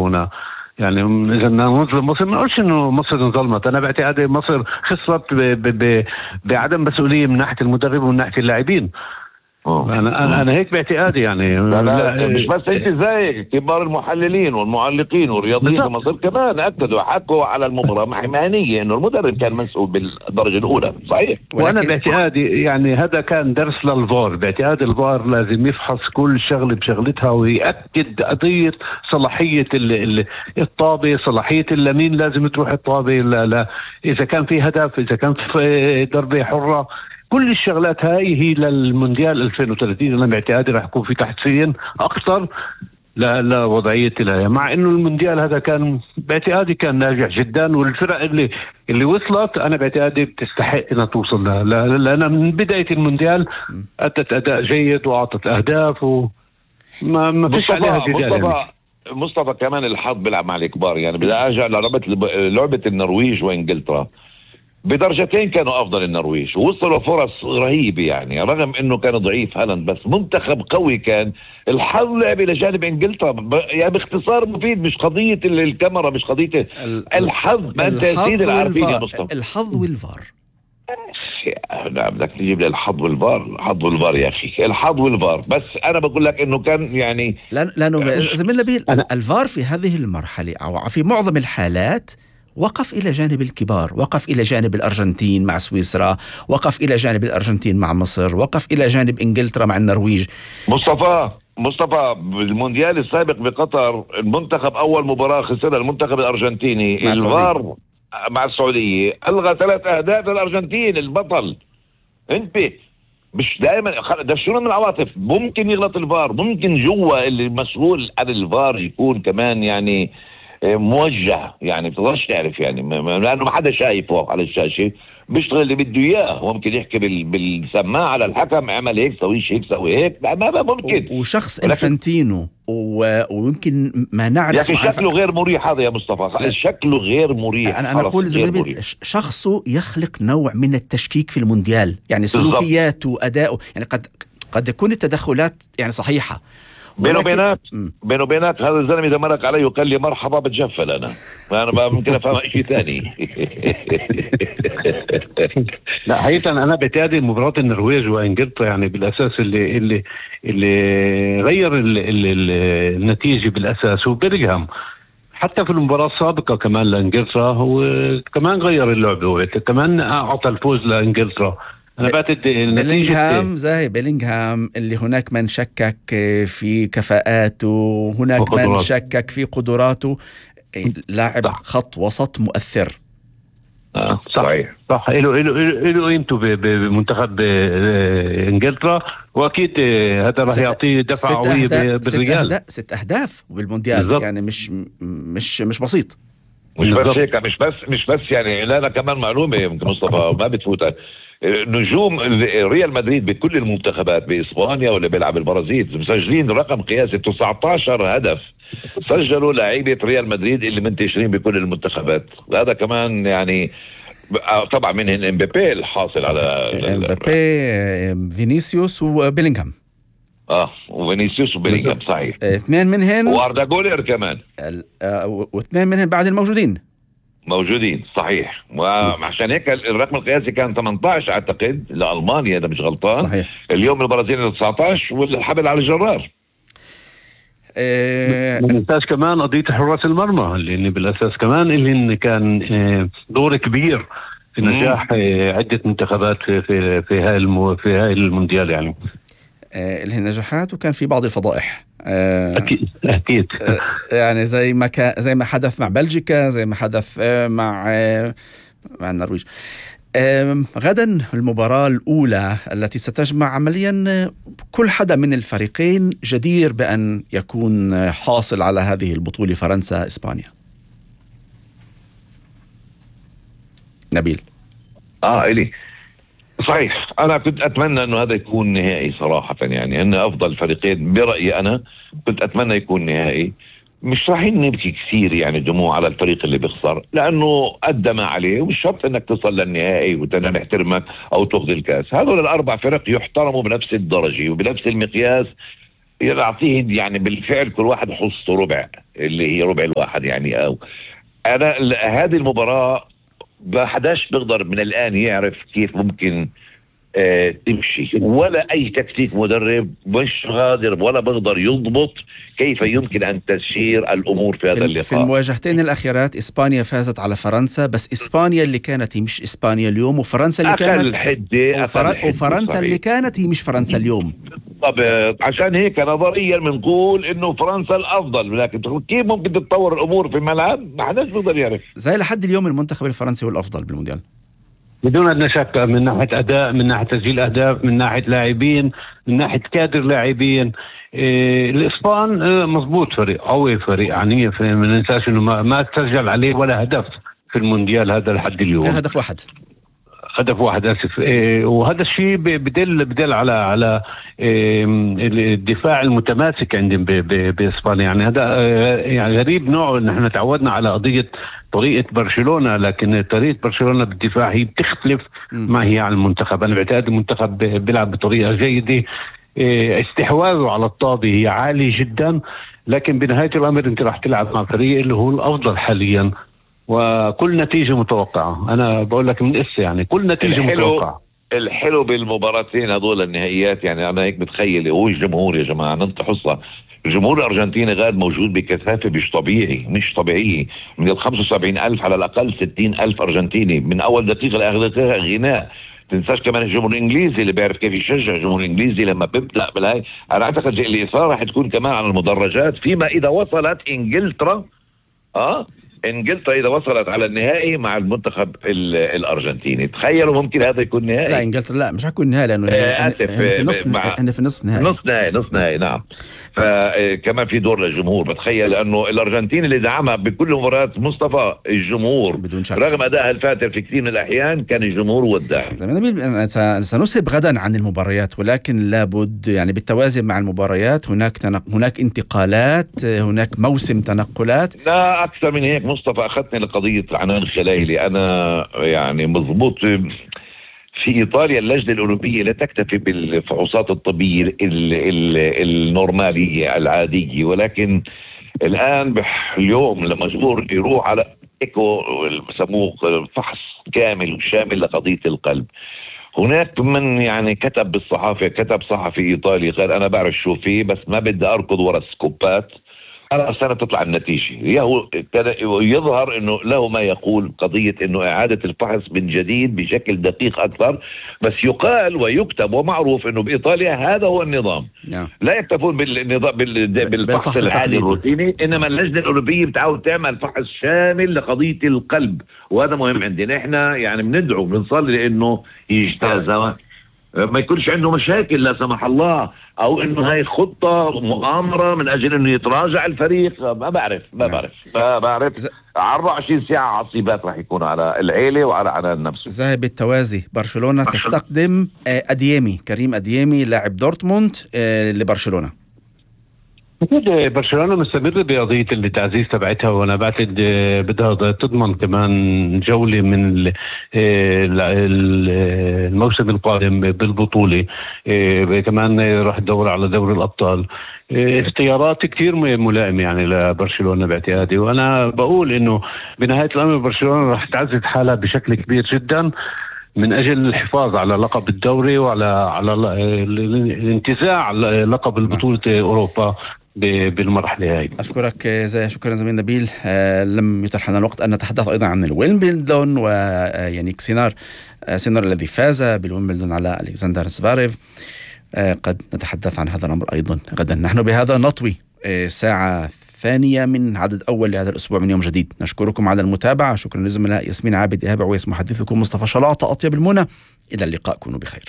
هنا. يعني إذا نظلم مصر، ما أقولش إنه مصر انظلمت. أنا باعتقادي مصر خسرت بعدم مسؤولية من ناحية المدرب ومن ناحية اللاعبين. أنا هيك باعتقادي يعني. لا مش بس انت، زي كبار المحللين والمعلقين والرياضيين في مصر كمان اكدوا حكوا على المباراه مهنيه انه المدرب كان مسؤول بالدرجه الاولى. صحيح. وانا باعتقادي يعني هذا كان درس للفار. باعتقاد الفار لازم يفحص كل شغله بشغلتها ويأكد قضيه صلاحيه الطابه، صلاحيه اليمين لازم تروح الطابه. لا اذا كان في هدف، اذا كان في ضربه حره، كل الشغلات هاي هي للمونديال 2030. أنا باعتقادي راح يكون في تحسين أكثر لوضعية الهيئة، مع إنه المونديال هذا كان باعتقادي كان ناجح جدا، والفرق اللي وصلت أنا باعتقادي بتستحق إنها توصل لأن من بداية المونديال أدت أداء جيد وأعطت أهداف وما فيش عليها جدال. مصطفى كمان الحظ بيلعب مع الكبار. يعني بدي أرجع لعبة النرويج وإنجلترا، بدرجتين كانوا افضل النرويج ووصلوا فرص رهيبه، يعني رغم انه كان ضعيف هالاند، بس منتخب قوي كان. الحظ لعب الى جانب انجلترا، يعني باختصار مفيد، مش قضيه الكاميرا، مش قضيه الحظ. ما انت سيد العارفين يا مصطفى، الحظ والفار. لا بدك تجيب لي الحظ والفار، الحظ والفار يا اخي، الحظ والفار. بس انا بقول لك انه كان يعني لانه زميلنا نبيل الفار في هذه المرحله او في معظم الحالات وقف إلى جانب الكبار، وقف إلى جانب الأرجنتين مع سويسرا، وقف إلى جانب الأرجنتين مع مصر، وقف إلى جانب إنجلترا مع النرويج. مصطفى بالمونديال السابق بقطر، المنتخب أول مباراة خسرها المنتخب الأرجنتيني، الفار مع السعودية ألغى 3 أهداف الأرجنتين البطل. انت مش دائما ده شنو من العواطف، ممكن يغلط الفار، ممكن جوا اللي مسؤول عن الفار يكون كمان يعني موجه، يعني بتقدرش تعرف، يعني لانه ما حدا شايفه على الشاشه، بيشتغل اللي بده اياه. هو ممكن يحكي بالسماعه على الحكم، اعمل هيك، سويش هيك، سوي هيك، ما ممكن. وشخص انفانتينو ويمكن ما نعرف، يا اخي شكله غير مريح هذا يا مصطفى، شكله غير مريح. انا اقول شخصه يخلق نوع من التشكيك في المونديال، يعني سلوكياته واداؤه. يعني قد يكون التدخلات يعني صحيحه. بينه وبينك هذا الزلمه اذا مرق علي وقال لي مرحبا بتجفل انا ممكن افهم شيء ثاني. لا حقيقة انا بعتقد مباراة النرويج وانجلترا يعني بالاساس اللي غير النتيجة بالاساس هو بيلينغهام. حتى في المباراة السابقة كمان لانجلترا هو كمان غير اللعبة، كمان اعطى الفوز لانجلترا. أنا بعتقد بيلينغهام اللي هناك من شكك في كفاءاته، هناك من شكك في قدراته، لاعب خط وسط مؤثر. صحيح صح. له قيمته بمنتخب انجلترا، واكيد هذا راح يعطيه دفعه قويه بالريال. 6 أهداف بالمونديال بالزبط. يعني مش بسيط. مش بس هيك، مش بس يعني. لا كمان معلومه يمكن مصطفى ما بتفوتك، نجوم ريال مدريد بكل المنتخبات بإسبانيا ولا بيلعب البرازيل مسجلين رقم قياسي 19 هدف سجلوا لاعيبة ريال مدريد اللي منتشرين بكل المنتخبات. هذا كمان يعني طبعا منهم امبابي الحاصل على امبابي، فينيسيوس وبيلينغهام. وفينيسيوس وبيلينغهام صحيح. 2 منهم واردا جولر كمان، و2 منهم بعد موجودين صحيح. وعشان هيك الرقم القياسي كان 18 اعتقد لألمانيا اذا مش غلطان. صحيح. اليوم البرازيل 19 والحبل على الجرار. ما ننساش كمان قضية حراس المرمى اللي بالاساس كمان اللي كان دور كبير في نجاح عدة منتخبات في هاي المونديال. يعني اللي النجاحات وكان في بعض الفضائح. أكيد. يعني زي ما حدث مع بلجيكا، زي ما حدث مع النرويج. غدا المباراة الأولى التي ستجمع عمليا كل حدا من الفريقين جدير بأن يكون حاصل على هذه البطولة، فرنسا إسبانيا. نبيل. إلي صحيح. أنا كنت أتمنى أنه هذا يكون نهائي صراحة، يعني أن أفضل فريقين برأيي أنا كنت أتمنى يكون نهائي. مش رايحين نبكي كثير يعني دموع على الفريق اللي بيخسر، لأنه قدم عليه، ومش شرط أنك تصل للنهائي وتنا نحترمك أو تاخذ الكاس. هذول ال4 فرق يحترموا بنفس الدرجة وبنفس المقياس، يعطيه يعني بالفعل كل واحد حصته ربع، اللي هي ربع الواحد يعني. أو أنا هذه المباراة ما حداش بيقدر من الآن يعرف كيف ممكن تمشي، ولا أي تكتيك مدرب مش قادر ولا بيقدر يضبط كيف يمكن أن تسير الأمور في هذا اللقاء. في المواجهتين الأخيرات إسبانيا فازت على فرنسا، بس إسبانيا اللي كانت هي مش إسبانيا اليوم، وفرنسا اللي كانت وفرنسا اللي كانت هي مش فرنسا اليوم. طب عشان هيك نظريا بنقول إنه فرنسا الأفضل، لكن كيف ممكن تتطور الأمور في الملعب ما حداش بيقدر يعرف. زي لحد اليوم المنتخب الفرنسي هو الأفضل بالمونديال بدون أدنى شك، من ناحية أداء، من ناحية تسجيل أهداف، من ناحية لاعبين، من ناحية كادر لاعبين. الإسبان مضبوط، فريق قوي، فريق عنيف، ما ننساش إنه ما تسجل عليه ولا هدف في المونديال هذا لحد اليوم. هدف واحد آسف. وهذا الشيء بدل على الدفاع المتماسك عندهم بإسبانيا. يعني هذا يعني غريب نوعه، إن احنا تعودنا على قضية طريقة برشلونة، لكن طريقة برشلونة بالدفاع هي بتختلف ما هي عن المنتخب. أنا بعتقد المنتخب بيلعب بطريقة جيدة، استحواذه على الطابة هي عالي جدا، لكن بنهاية الأمر أنت راح تلعب مع فريق اللي هو الأفضل حاليا، وكل نتيجة متوقعة. أنا بقول لك من يعني كل نتيجة متوقعة. الحلو بالمباراتين هذول النهائيات، يعني أنا هيك متخيل هو الجمهور يا جماعة ننطي حصة. الجمهور الأرجنتيني غاد موجود بكثافة مش طبيعية. من 75,000 على الأقل 60,000 أرجنتيني من أول دقيقة لآخر دقيقة غناء. تنساش كمان الجمهور الإنجليزي اللي بيعرف كيف يشجع. الجمهور الإنجليزي لما بيبدأ بالهاي، أنا أعتقد الإثارة راح تكون كمان على المدرجات، فيما إذا وصلت إنجلترا إذا وصلت على النهائي مع المنتخب الأرجنتيني. تخيلوا ممكن هذا يكون نهائي. لا إنجلترا لا مش هيكون نهائي، لأنه في نصف نهائي. نعم. فكمان في دور للجمهور. بتخيل لأنه الأرجنتين اللي دعمها بكل مباريات مصطفى الجمهور بدون شك، رغم أدائها الفاتر في كثير من الأحيان كان الجمهور والداعم. سنسهب غدا عن المباريات، ولكن لابد يعني بالتوازي مع المباريات هناك انتقالات، هناك موسم تنقلات. لا أكثر من هيك مصطفى، أخذتني لقضية عنان خلايلي. أنا يعني مضبوط في إيطاليا اللجنة الأوروبية لا تكتفي بالفحوصات الطبية النورمالية العادية، ولكن الآن اليوم لما مجبور يروح على إيكو بسموه فحص كامل وشامل لقضية القلب. هناك من يعني كتب صحفي إيطالي قال أنا بعرف شو فيه، بس ما بدي أركض ورا السكوبات، على سنة تطلع النتيجة. يظهر أنه له ما يقول قضية أنه إعادة الفحص من جديد بشكل دقيق أكثر، بس يقال ويكتب ومعروف أنه بإيطاليا هذا هو النظام. لا يكتفون بالفحص العادي الروتيني، إنما اللجنة الأوروبية بتعاود تعمل فحص شامل لقضية القلب، وهذا مهم عندنا. إحنا يعني بندعو بنصلي لأنه يجتاز، ما يكونش عنده مشاكل لا سمح الله، او انه هاي خطة مؤامرة من اجل انه يتراجع الفريق. ما بعرف 24 ساعة عصيبات راح يكون على العيلة وعلى عنان نفسه. زي بالتوازي برشلونة تستقدم كريم أديمي لاعب دورتموند لبرشلونة. أكيد برشلونة مستمرة بقضية التعزيز تبعتها، وأنا بعتقد بدها تضمن كمان جولة من الموسم القادم بالبطولة. كمان راح تدور على دوري الأبطال. اختيارات كتير ملائمة يعني لبرشلونة باعتقادي، وأنا بقول إنه بنهاية الأمر برشلونة راح تعزز حالها بشكل كبير جدا من أجل الحفاظ على لقب الدوري وعلى الانتزاع لقب البطولة أوروبا بالمرحلة هاي. أشكرك شكرا زميل نبيل. لم يتح لنا الوقت أن نتحدث أيضا عن الويمبلدون ويانيك سينار الذي فاز بالويمبلدون على ألكسندر زفاريف. قد نتحدث عن هذا الأمر أيضا غدا. نحن بهذا نطوي ساعة ثانية من عدد أول لهذا الأسبوع من يوم جديد. نشكركم على المتابعة. شكرا لزملاء ياسمين عابد إيهاب عويس محدثكم مصطفى شلاطة. أطيب المنى، إلى اللقاء، كونوا بخير.